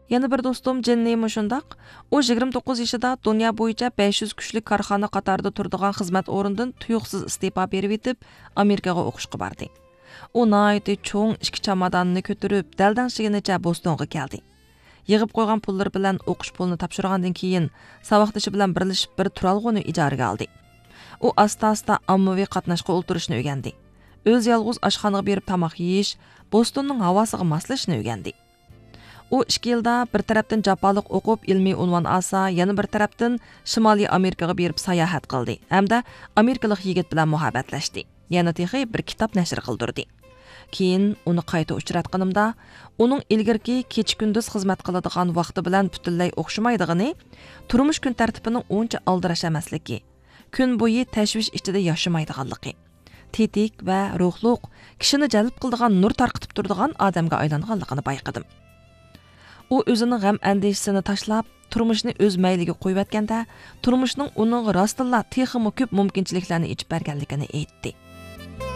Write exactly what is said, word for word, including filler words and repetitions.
يەنە بىر دوستۇم جېننى مۇشۇنداق. ئۇ يىگىرمە توققۇز يېشىدا دۇنيا بويىچە بەش يۈز كۈچلۈك كارخانا قاتارىدا تۇرىدىغان خىزمەت ئورنىدىن تۇيۇقسىز ئىستېپا بېرىۋېتىپ، ئامېرىكىغا ئوقۇشقا باردى. ئۇ ناھايىتى چوڭ ئىككى چاماداننى كۆتۈرۈپ، دەلدەڭشىگىنىچە بوستونغا كەلدى. يىغىپ قويغان پۇللىرى بىلەن ئوقۇش پۇلىنى تاپشۇرغاندىن كېيىن، ساۋاقدىشى بىلەن بىرلىشىپ بىر تۇرالغۇنى ئىجارىگە ئالدى. ئۇ ئاستا-ئاستا ئاممىۋى قاتناشقا ئولتۇرۇشنى ئۆگەندى. ئۆزى يالغۇز ئاشخانىغا بېرىپ تاماق يېيىش، بوستوننىڭ ھاۋاسىغا ماسلىشىشنى ئۆگەندى. ئۇ ئىككى يىلدا بىر تەرەپتىن جاپالىق ئوقۇپ، ئىلمىي ئۇنۋان ئالسا، يەنە بىر تەرەپتىن شىمالىي ئامېرىكىغا بېرىپ ساياھەت قىلدى ھەمدە ئامېرىكىلىق يىگىت بىلەن مۇھەببەتلەشتى. يەنە تېخى بىر كىتاب نەشر قىلدۇردى. كېيىن ئۇنى قايتا ئۇچراتقىنىمدا، ئۇنىڭ ئىلگىرىكى كېچە-كۈندۈز خىزمەت قىلىدىغان ۋاقتى بىلەن پۈتۈنلەي ئوخشىمايدىغىنى، تۇرمۇش كۈن تەرتىپىنىڭ ئۇنچە ئالدىراش ئەمەسلىكى، كۈن بويى تەشۋىش ئىچىدە ياشىمايدىغانلىقى، تېتىك ۋە روھلۇق، كىشىنى جەلپ قىلىدىغان نۇر تارقىتىپ تۇرىدىغان ئادەمگە ئايلانغانلىقىنى بايقىدىم. ئۇ ئۆزىنىڭ غەم-ئەندىشىسىنى تاشلاپ، تۇرمۇشنى ئۆز مەيلىگە قويۇۋەتكەندە، تۇرمۇشنىڭ ئۇنىڭغا راستتىنلا تېخىمۇ كۆپ مۇمكىنچىلىكلەرنى ئېچىپ بەرگەنلىكىنى ئېيتتى.